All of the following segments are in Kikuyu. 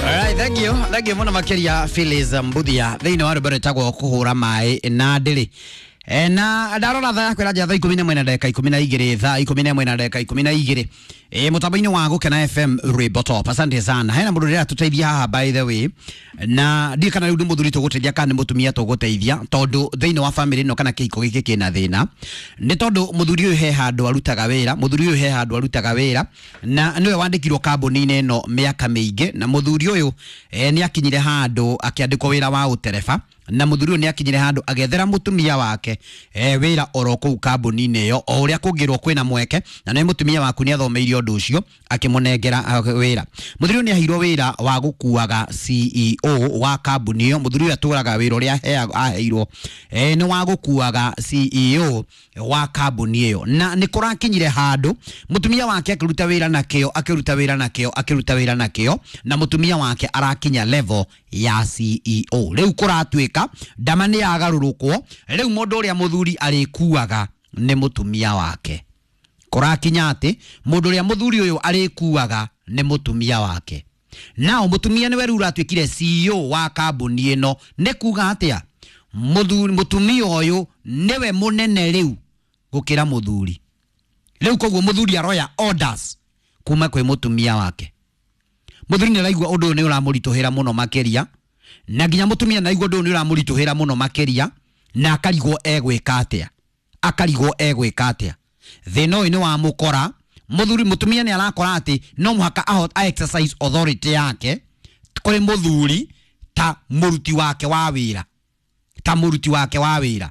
Alright, thank you. Thank you muno makiria Phyllis Mbuthia thĩinĩ wa rwĩmbo rwĩtagwo kũhũra maĩ na ndĩrĩ. E, na ndarora thaa yakwa ĩranjia thaa ikũmi na ĩmwe na ndagĩka ikũmi na igĩrĩ, thaa ikũmi na ĩmwe na ndagĩka ikũmi na igĩrĩ, e, mũtambo-inĩ wa Gũkena FM Rwĩmbo Top. Asante sana. Hena mũndũ ũrĩa tũteithia haha, by the way, na ndiũ kana rĩu nĩ mũthuri tũgũteithia kana nĩ mũtumia tũgũteithia, tondũ thĩinĩ wa family ĩno kana kĩhiko gĩkĩ kĩna thĩna nĩ tondũ mũthuri ũyũ he handũ arutaga wĩra, mũthuri ũyũ he handũ arutaga wĩra na nĩwe wandĩkirwo kambuni-inĩ ĩno mĩaka mĩingĩ, na mũthuri ũyũ nĩ akinyire handũ akĩandĩkwo wĩra wa ũtereba, na mũthuri ũyũ nĩ akinyire handũ agethera mũtumia wake wĩra oro kũu kambuni-inĩ ĩyo o ũrĩa kũngĩrwo kwĩna mweke, na nĩ mũtumia waku nĩ athomeire ũndũ ũcio, akĩmũnengera wĩra. Mũthuri ũyũ nĩ aheirwo wĩra wa gũkuaga CEO wa kambuni ĩyo. Mũthuri ũyũ atũraga wĩra ũrĩa aheirwo nĩ wa gũkuaga CEO wa kambuni ĩyo, na nĩ kũrakinyire handũ mũtumia wake akĩruta wĩra na kĩo, akĩruta wĩra na kĩo, akĩruta wĩra na kĩo, na mũtumia wake arakinya level ya CEO. Rĩu kũratuĩka ndama nĩ yagarũrũkwo, rĩu mũndũ ũrĩa mũthuri arĩkuaga nĩ mũtumia wake. Kũrakinya atĩ mũndũ ũrĩa mũthuri ũyũ arĩkuaga nĩ mũtumia wake. Nao mũtumia nĩwe rĩu ũratuĩkire CEO wa kambuni ĩno. Nĩ kuga atĩa? Mũthuri, mũtumia ũyũ nĩwe mũnene rĩu gũkĩra mũthuri rĩu, koguo mũthuri aroya orders kuma kwĩ mũtumia wake. Mũthuri nĩ araigua ũndũ ũyũ nĩ ũramũritũhĩra mũno makĩria, na nginya mũtumia nĩ araigua ũndũ ũyũ nĩ ũramũritũhĩra mũno makĩria, na akarigwo egwĩka atĩa, akarigwo egwĩka atĩa. Thĩna ũyũ nĩ wamũkora mũthuri. Mũtumia nĩ arakora atĩ no mũhaka a exercise authority yake kũrĩ mũthuri ta mũruti wake wa wĩra, ta mũruti wake wa wĩra.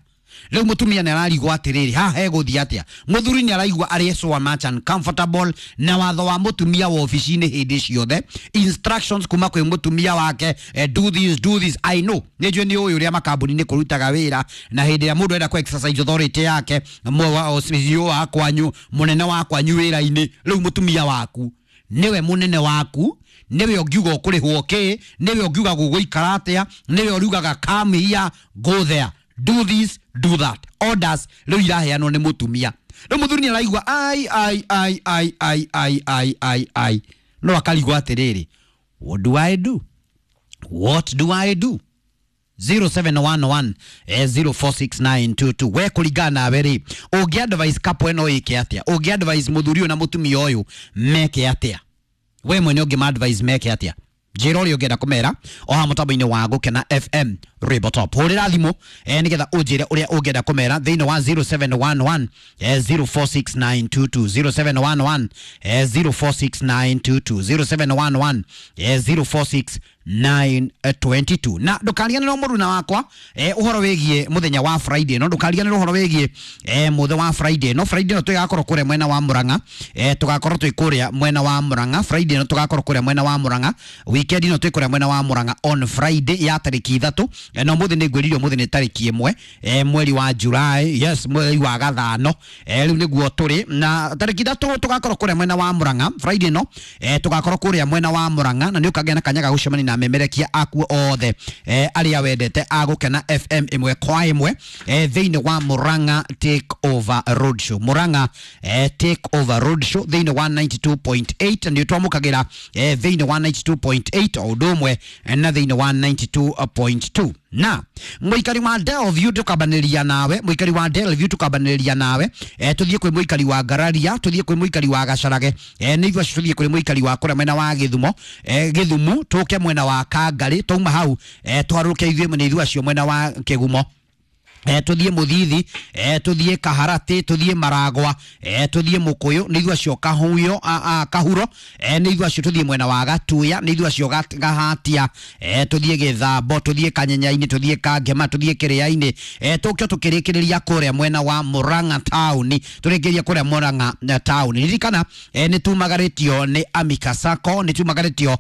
Rĩu mũtumia nĩ ararigwo atĩrĩrĩ, haha hegũthiĩ atĩa? Mũthuri nĩ araigua arĩ so much uncomfortable na watho wa mũtumia wa obici-inĩ hĩndĩ ciothe, instructions kuma kwĩ mũtumia wake, do this, do this. I know, nĩ njũĩ, nĩ ũĩ ũrĩa makambuni-inĩ kũrutaga wĩra, na hĩndĩ ĩrĩa mũndũ enda kũ exercise authority yake, CEO wa kwanyu, mũnene wa kwanyu wĩra-inĩ, rĩu mũtumia waku nĩwe mũnene waku, nĩwe ũngiuga ũkũrĩhwo kĩ, nĩwe ũngiuga gũgũikara atĩa, nĩwe ũriugaga come here, go there, do this, do that. Orders rĩu iraheanwo nĩ mũtumia. Rĩu mũthuri nĩ araigua ai ai ai ai ai ai ai ai ai, no akarigwo atĩrĩrĩ, what do I do, what do I do? 0711 046922. We kũringana nawe rĩ, ũngĩ advise couple ĩno ĩke atĩa? Ũngĩ advise mũthuri ũyũ na mũtumia ũyũ meke atĩa? We mwene ũngĩ ma advise meke atĩa? Njĩra ũrĩa ũngĩenda kũmera o haha mũtambo-inĩ wa Gũkena FM Rwĩmbo Top. Hũrĩra thimũ nĩgetha ũnjĩre ũrĩa ũngĩenda kũmera thĩinĩ wa 0711 046922, 0711 046922, 0711 046922. Na ndũkariganĩrwo, mũruna wakwa, ũhoro wĩgiĩ mũthenya wa Friday. No ndũkariganĩrwo ũhoro wĩgiĩ mũthenya wa Friday. No Friday no tũgakorwo kũrĩa mwena wa Murang'a, tũgakorwo twĩ kũrĩa mwena wa Murang'a Friday. No tũgakorwo kũrĩa mwena wa Murang'a weekend. No twĩ kũrĩa mwena wa Murang'a on Friday ya tarĩki 3. Na ũmũthĩ nĩ ngwĩrire ũmũthĩ nĩ tarĩki 1, mweri wa July, yes, mweri wa gathano. Rĩu nĩguo tũrĩ na tarĩki 3, tũgakorwo kũrĩa mwena wa Murang'a Friday. No tũgakorwo kũrĩa mwena wa Murang'a, na nĩ ũkagĩa na kanya ga gũcemania na memerekia aku othe, arĩa wendete a Gũkena FM ĩmwe kwa ĩmwe, thĩinĩ wa Murang'a Take Over Road Show, Murang'a Take Over Road Show thĩinĩ wa 92.8. Nĩ twamũkagĩra thĩinĩ wa 92.8 o ũndũ ũmwe na thĩinĩ wa 92.2. Na mũikari wa Delview tũkambanĩria nawe, mũikari wa Delview tũkambanĩria nawe, tũthiĩ kwĩ mũikari wa Ngararia, tũthiĩ kwĩ mũikari wa Gacarage, nĩ ithuĩ acio, tũthiĩ kwĩ mũikari wa kũrĩa mwena wa Gĩthumo, Gĩthumu, tũke mwena wa Kangarĩ, twauma hau twarũke ithuĩ nĩ ithuĩ acio mwena wa Kĩgumo, tuthiĩ Mũthithi, tuthiĩ Kaharatĩ, tuthiĩ Maragwa, tuthiĩ Mũkũyũ, nĩ ithuĩ acio Kahuyo, Kahuro, nĩ ithuĩ acio, tuthiĩ mwena wa Gatuya, nĩ ithuĩ acio Gahatia, tuthiĩ Gĩthambo, tuthiĩ Kanyenyainĩ, tuthiĩ Kangema, tuthiĩ Kĩrĩa-inĩ, tũke tũkĩrĩkĩrĩria kũrĩa mwena wa Murang'a town, tũrĩkĩrĩria kũrĩa Murang'a town. Ririkana nĩ tumagarĩtio nĩ Amika Sacco, nĩ tumagarĩtio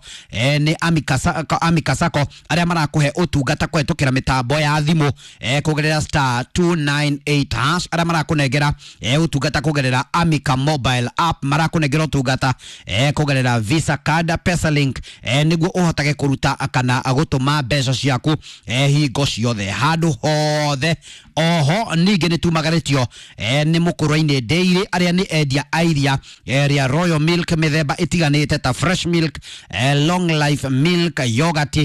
nĩ Amika Sacco, Amika Sacco arĩa marakũhe ũtungata kũhetũkĩra mĩtambo ya thimũ, kũgerera star 298 hash arĩa marakunengera ũtungata kũgerera Amica mobile app, marakunengera ũtungata kũgerera Visa card, Pesalink, nĩguo ũhotage kũruta kana gũtũma mbeca ciaku hingo ciothe handũ hothe. Oho ningĩ nĩ tumagarĩtio nĩ mũkũrwa-inĩ Dairy arĩa nĩ endia a iria rĩa Royal Milk mĩthemba ĩtiganĩte ta fresh milk, long life milk, yogurt,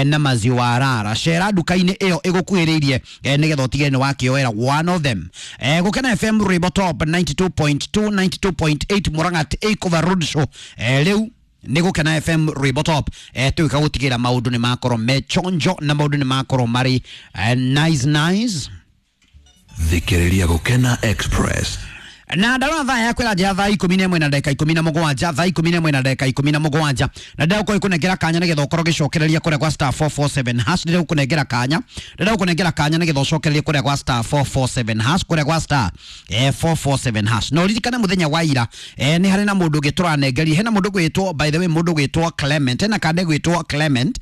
na maziwa rara. Cera nduka-inĩ ĩyo ĩgũkuhĩrĩirie nĩgetha ũtige nĩ wakĩoera one of them. Gũkena FM Rwĩmbo Top 92.2 92.8 Murang'a Takeover Road Show, rĩu nä gå kena FM Rwĩmbo Top, tå gå tigä ra maå ndå nä makorwo me chonjo na maå ndå nä makorwo marä nice nice. Thikĩrĩria Gũkena Express. Na ndarona thaa yakwa ĩranjĩra thaa 11 na ndagĩka 17, thaa 11 na ndagĩka 17, na ndĩragũkorwo ikũnengera kanya nĩgetha ũkorwo ũgĩcokereria kũrĩa gwa star 447 hash. Ndĩragũkũnengera kanya, ndĩragũkũnengera kanya nĩgetha ũcokererie kũrĩa gwa star 447 hash, kũrĩa gwa star 447 hash. Na ũririkane mũthenya wa ira, nĩ harĩ na mũndũ ũngĩ tũranengeria, hena mũndũ gwĩtwo, by the way, mũndũ gwĩtwo Clement, hena kande gwĩtwo Clement,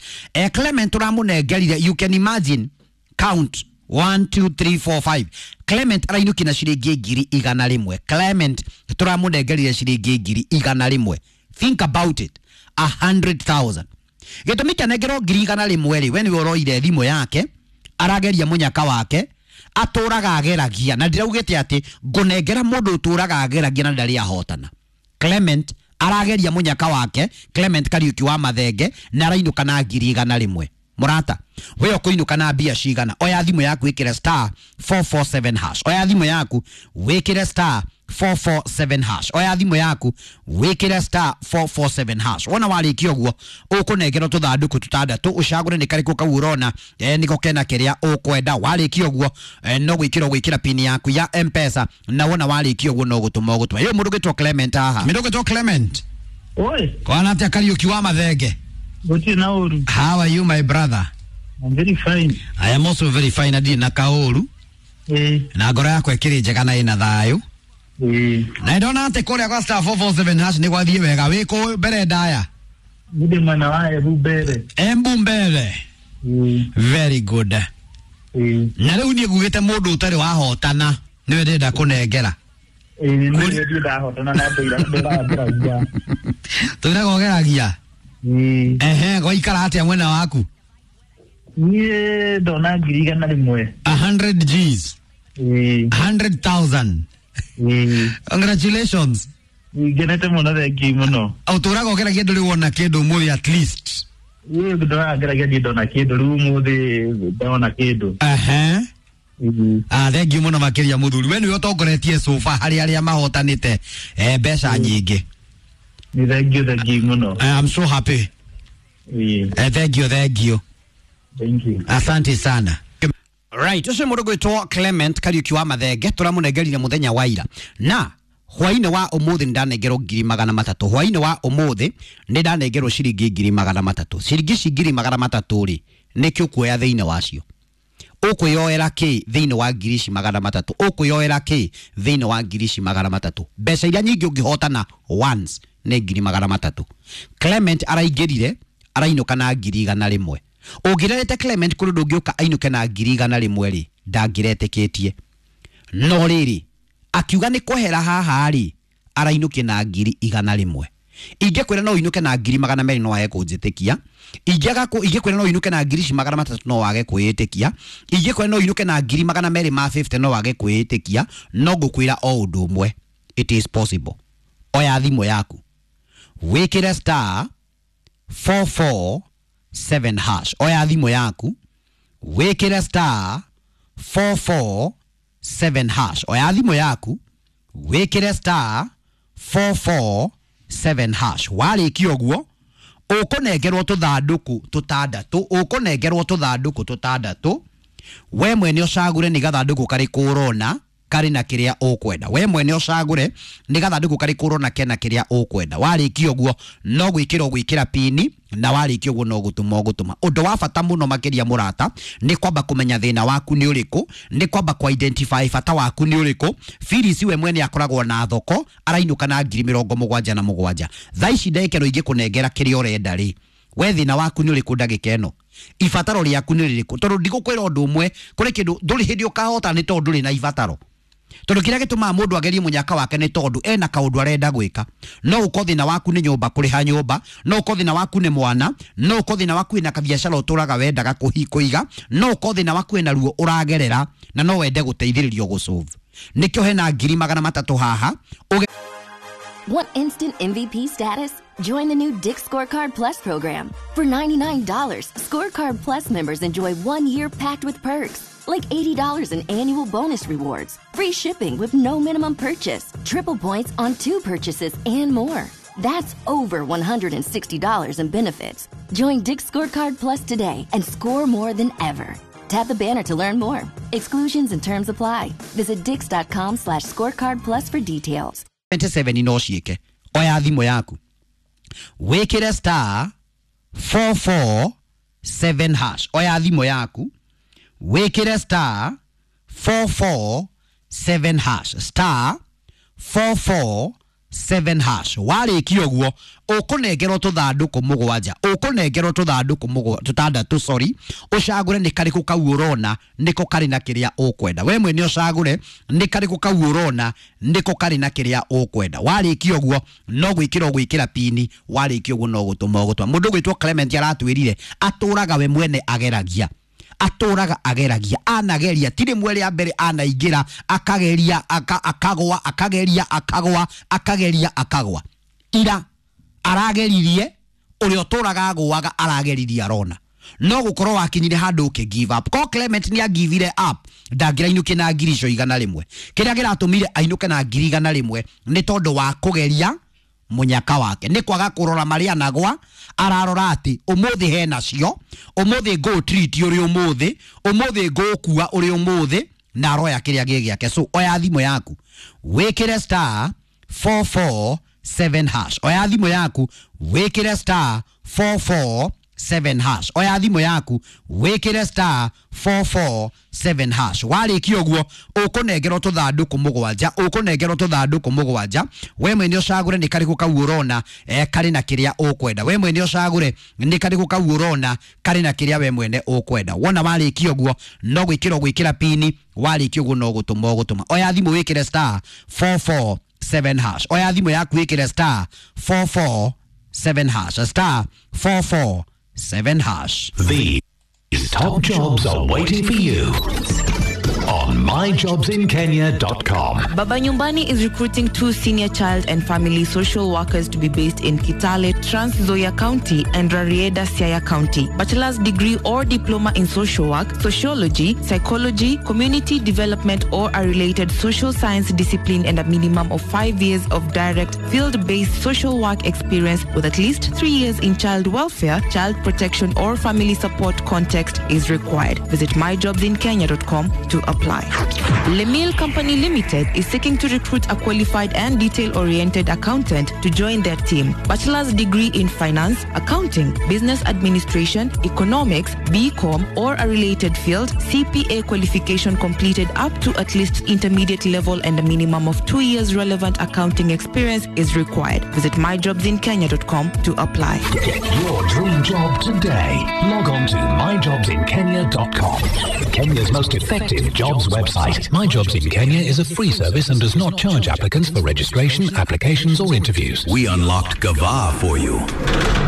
Clement tũramũnengerire, you can imagine, count 1 2 3 4 5. Clement arainũkia na ciringi 100,000. Clement tũramũnengerire ciringi 100,000. Think about it, 100,000. Gĩtũmi kĩanengerwo 100,000 rĩ, we nĩwe ũroire thimũ yake, arageria mũnyaka wake, atũraga ageragia, na ndĩraugĩte atĩ ngũnengera mũndũ ũtũraga ageragia na ndarĩ ahotana. Clement arageria mũnyaka wake, Clement Kariuki wa Mathenge, na arainũka na 100,000. Mũrata, we ũkũinũka na mbia cigana? Oya thimũ yaku wĩkĩre star 447 hash. Oya thimũ yaku wĩkĩre star 447 hash. Oya thimũ yaku wĩkĩre star 447 hash. Wona warĩkia ũguo ũkũnengerwo tũthandũkũ tũtandatũ, ũcagũre nĩ karĩkũ kau ũrona nĩko kena kĩrĩa ũkwenda. Warĩkia ũguo no gwĩkĩra ũgwĩkĩra pin yaku ya M-Pesa, na wona warĩkia ũguo no gũtũma ũgũtũma. Yo mũndũ ũgĩtwo Clement haha, mũndũ ũgĩtwo Clement. Oi. Kwana atĩa Kariũki wa Mathenge? Gũtirĩ na ũru. How are you, my brother? I'm very fine. I am also very fine. Ndirĩ na kaũru. Na ngoro yakwa ĩkĩrĩ njega na ĩna thayũ. Na ndona atĩ kũrĩa kwa star 447 hash nĩ gwathiĩ wega. Wĩ kũ mbere ndaya? Ndĩ mwena wa Embu mbere. Embu mbere. Very good. Na rĩu niĩ ngugĩte mũndũ ũtarĩ wahotana nĩwe ndĩrenda kũnengera. Nĩ ndahotana na ndĩra. Tũiraga ũgeragia. Ehe, gwaikara atĩa mwena waku? Niĩ ndona 100,000. 100 Gs. 100,000. Congratulations. Ngenete mũno, thengi mũno. Ũtũraga ũgeragia ndũrĩ wona kĩndũ ũmũthĩ at least? Ĩĩ, ndũraga ngeragia niĩ ndona kĩndũ, rĩu ũmũthĩ ndona kĩndũ. Ehe. Ah, thengiũ mũno makĩria mũthuri. We nĩwe ũtongoretie sofa harĩ arĩa mahotanĩte mbeca nyingĩ. Nĩ thengiũ, thengiũ mũno. I'm so happy. Thank you, thank you. Thank you. Asante sana. Right, ũcio mũndũ gwĩtwo Clement Kariuki wa Mathenge tũramũnengerire mũthenya wa ira. Na hwainĩ wa ũmũthĩ nĩ ndanengerwo 300,000. Hwainĩ wa ũmũthĩ nĩ ndanengerwo ciringi 300,000. Ciringi ici 300,000 rĩ, nĩkĩ ũkuoya thĩinĩ wacio? Ũkwĩyoera kĩ thĩinĩ wa 300,000? Ũkwĩyoera kĩ thĩinĩ wa 300,000? Mbeca iria nyingĩ ũngĩhotana once nĩ 300,000. Clement araingĩrire arainũka na 100,000. Ũngĩrerete Clement kũrĩ ũndũ ũngĩũka ainũke na 100,000 rĩ, ndangĩretĩkĩtie. No rĩrĩ, akiuga nĩ kwehera haha rĩ, arainũkie na 100,000. Ingĩkwĩra no ũinũke na 200,000 no wage kũnjĩtĩkia. Ingĩkwĩra no ũinũke na 300,000 no wage kwĩĩtĩkia. Ingĩkwĩra no ũinũke na 250,000 no wage kwĩĩtĩkia. No ngũkwĩra o ũndũ ũmwe, it is possible. Oya thimũ yaku wĩkĩre star 447 hash. Oya thimũ yaku wĩkĩre star 447 hash. Oya thimũ yaku wĩkĩre star 447 hash. Warĩkia ũguo ũkũnengerwo tũthandũkũ tũtandatũ, ũkũnengerwo tũthandũkũ tũtandatũ. We mwene ũcagũre nĩ gathandũkũ karĩkũ ũrona karĩ na kĩrĩa ũkwenda. We mwene ũcagũre nĩ gathandũkũ karĩkũ ũrona kena kĩrĩa ũkwenda. Warĩkia ũguo no gwĩkĩra ũgwĩkĩra pini, na warĩkia ũguo no gũtũma ũgũtũma. Ũndũ wa bata mũno makĩria mũrata nĩ kwamba kũmenya thĩna waku nĩ ũrĩkũ, nĩ kwamba kũ identify bata waku nĩ ũrĩkũ. Phyllis we mwene akoragwo na thoko arainũka na 77,000. Thaa ici ndagĩka ĩno ingĩkũnengera kĩrĩa ũrenda rĩ, we thĩna waku nĩ ũrĩkũ ndagĩka ĩno? Ibataro rĩaku nĩ rĩrĩkũ? Tondũ ndigũkwĩra ũndũ ũmwe, kũrĩ kĩndũ ndũrĩ hĩndĩ ũkahota nĩ tondũ ndũrĩ na ibataro. Tondũ kĩrĩa gĩtũmaga mũndũ agerie mũnyaka wake nĩ tondũ ena kaũndũ arenda gwĩka. No ũkorwo thĩna waku nĩ nyũmba, kũrĩha nyũmba, no ũkorwo thĩna waku nĩ mwana, no ũkorwo thĩna waku wĩna kabiacara ũtũraga wendaga kũiga, no ũkorwo thĩna waku wĩna ruo ũragerera na no wende gũteithĩrĩrio gũsolve. Nĩkĩo hena 300,000 haha. Want instant MVP status? Join the new Dick's Scorecard Plus program. For $99, Scorecard Plus members enjoy 1 year packed with perks, like $80 in annual bonus rewards, free shipping with no minimum purchase, triple points on 2 purchases, and more. That's over $160 in benefits. Join Dick's Scorecard Plus today and score more than ever. Tap the banner to learn more. Exclusions and terms apply. Visit dicks.com/scorecard plus for details. 27 no ciĩke. Oya thimũ yaku, wĩkĩre star 447 hash. Oya thimũ yaku, wĩkĩre star 447 hash, star 447 hash. Warĩkia ũguo ũkũnengerwo tũthandũkũ mũgwanja, ũkũnengerwo tũthandũkũ tũtandatũ, sorry, ũcagũre nĩ karĩkũ kau ũrona nĩko karĩ na kĩrĩa ũkwenda. We mwene ũcagũre nĩ karĩkũ kau ũrona nĩko karĩ na kĩrĩa ũkwenda. Warĩkia ũguo no gwĩkĩra ũgwĩkĩra pini, warĩkia ũguo no gũtũma ũgũtũma. Mũndũ ũgwĩtwo Clement aratwĩrire atũraga we mwene ageragia, atũraga ageragia, anageria ti rĩmwe rĩa mbere, anaingĩra akageria akagwa, akageria akagwa, akageria akagwa. Ira arageririe ũrĩa ũtũraga agũaga, arageririe arona no gũkorwo wakinyire handũ ũkĩ give up. Ko Clement nĩ agivire up, ndangĩrainũke na 100,100. Kĩrĩa kĩratũmire ainũke na 100,100 nĩ tondũ wa kũgeria munyaka wake, nĩ kwaga kũrora marĩa anagwa. Ararora atĩ ũmũthĩ hena cio, ũmũthĩ ngũ treat ũrĩ ũmũthĩ, ũmũthĩ ngũkua ũrĩ ũmũthĩ, na aroya kĩrĩa gĩ gĩake. So oya thimũ yaku, wĩkĩre star 447 hash. Oya thimũ yaku, wĩkĩre star 447 hash. Oya thimũ yaku, wĩkĩre star 447 hash. Warĩkia ũguo ũkũnengerwo tũthandũkũ mũgwanja, ũkũnengerwo tũthandũkũ mũgwanja. We mwene ũcagũre nĩ karĩkũ kau ũrona karĩ na kĩrĩa ũkwenda. We mwene ũcagũre nĩ karĩkũ kau ũrona karĩ na kĩrĩa we mwene ũkwenda. Wona warĩkia ũguo no gwĩkĩra ũgwĩkĩra pini, warĩkia ũguo no gũtũma ũgũtũma. Oya thimũ wĩkĩre star 447 hash. Oya thimũ yaku wĩkĩre star 447 hash, star 447 hash. These top jobs are waiting for you on myjobsinkenya.com. Baba Nyumbani is recruiting 2 senior child and family social workers to be based in Kitale, Trans Nzoia County and Rarieda, Siaya County. Bachelor's degree or diploma in social work, sociology, psychology, community development or a related social science discipline, and a minimum of 5 years of direct field-based social work experience with at least 3 years in child welfare, child protection or family support context is required. Visit myjobsinkenya.com to apply. Lemil Company Limited is seeking to recruit a qualified and detail-oriented accountant to join their team. Bachelor's degree in finance, accounting, business administration, economics, BCom or a related field, CPA qualification completed up to at least intermediate level and a minimum of 2 years relevant accounting experience is required. Visit myjobsinkenya.com to apply. Get your dream job today. Log on to myjobsinkenya.com. Kenya's most effective jobs website. My Jobs in Kenya is a free service and does not charge applicants for registration, applications or interviews. We unlocked Gava for you.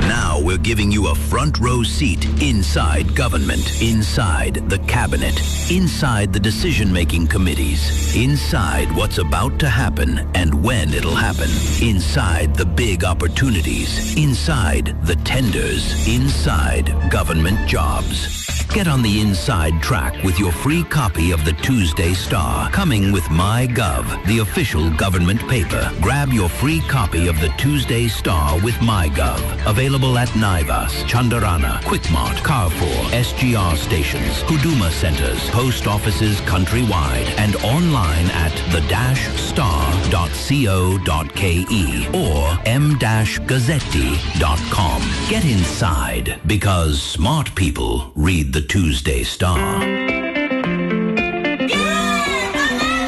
Now we're giving you a front row seat inside government, inside the cabinet, inside the decision-making committees, inside what's about to happen and when it'll happen, inside the big opportunities, inside the tenders, inside government jobs. Get on the inside track with your free copy of the Tuesday Star, coming with MyGov, the official government paper. Grab your free copy of the Tuesday Star with MyGov. Available at Naivas, Chandarana, Quickmart, Carrefour, SGR stations, Huduma centers, post offices countrywide, and online at the-star.co.ke or m-gazzetti.com. Get inside, because smart people read the Tuesday Star.